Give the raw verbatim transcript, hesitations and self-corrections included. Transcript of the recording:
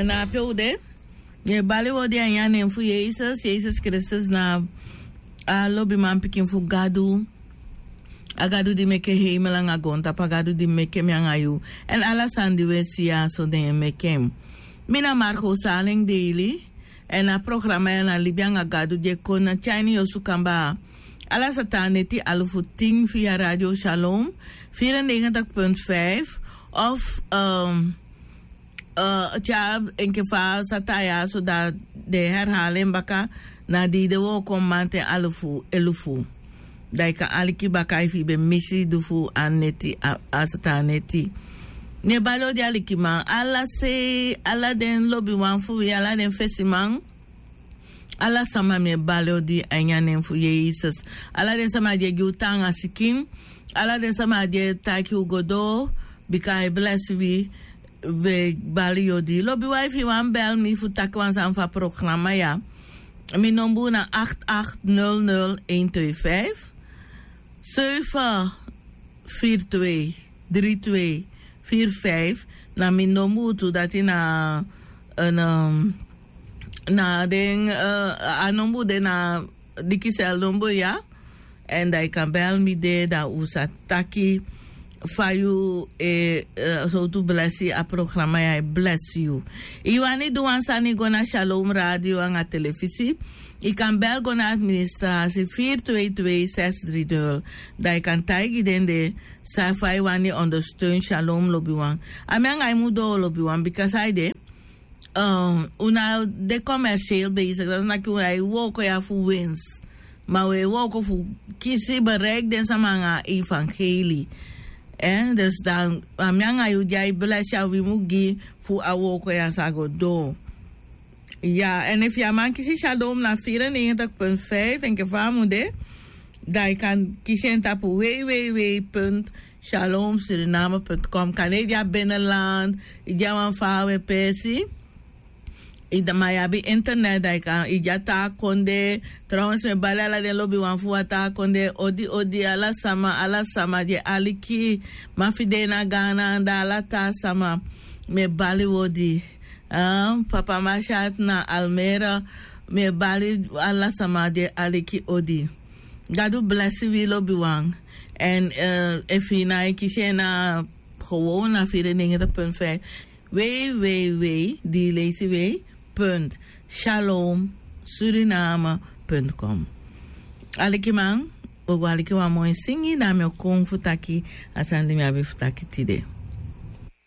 Na ape u de. Mi e bali odi a ini a nen fu Yesus. Yesus Kristus na a lobiman pikin fu Gadu. A Gadu di meke heimel anga goontapu, a Gadu di meke mi anga yu. Èn ala sani di u e si ya so den e meke en. Mi na Marco Saleng Daily. Èn a programa ya na Libi anga Gadu di e kon na tyai ini yu osu kamba. Ala sata neti alufu tin via Radio Shalom, vierennegentig punt vijf of, ehm, eh, tya, enke fa sata ya, so dati den e herhaal en baka, na di den wooko mamanten alufu elufu. Dan yu kan aliki baka efu yu ben misi di fu a neti, a, a sata neti. Mi e bali odi alikiman, ala sei, ala den lobiwan fu wi, ala den fesiman. Ala sama mi e bali odi a ini a nen fu Yesus. Ala den sama di e gi u taanga sikin. Ala den sama di e taki u go doo, bika a e blesi wi, wi e bali yu odi. Lobiwan, efu yu wani bel mi fu taki wan sani fu a programa ya, mi nombu na acht acht nul nul een twee vijf, zeven vier twee drie twee vier vijf. Na mi nombu tu, dati na, eh, na, na den, eh, a nombu de na dikisel nombu ya. Èn dan yu kan bel mi de, dan u sa taki fa yu e, eh, sowtu blesi a programa ya e blesi yu. Yu wani du wan sani go na Shalom Radio anga telefisi, yu kan bel go na administrasi vier twee twee zes drie nul. Dan yu kan taigi den de san fa yu wani ondersteun Shalom, lobiwan. A mi anga yu mu doo, lobiwan, bika san ede, eh, un no de commercieel bezig. Dati wani taki un no e wooko ya fu winst. Ma un e wooko fu kisi, bereik den sama anga evangelie. Eh, dus dan, a mi anga yu di a e blesi, a wi mu gi fu a wooko ya sa go doo. Ya, èn efu yu á man kisi Shalom na vierennegentig punt vijf, enke fa a mu de, dan yu kan kisi en tapu w w w punt shalom suriname punt com. Kande yu de a binnenland, yu de a wan faawe peesi, yu de, ma yu abi internet, dan yu kan, yu de a taa kondee. Trouwens, mi e bali ala den lobiwan fu a taa kondee odi odi, ala sama, ala sama di e aliki. Ma fu den na Ghana anda, ala taa sama, mi e bali u odi. Ah, Papa Mashat na Almere, mi e bali ala sama di e aliki odi. Gadu blesi wi, lobiwan. Èn, eh, efu yu no e kisi en na gewoon na vierennegentig punt vijf, w w w, di leisi w, punt shalom suriname punt com. Alikiman, un o go aliki wan moi singi, dan mi o kon fu taki a sani di mi abi fu taki tide.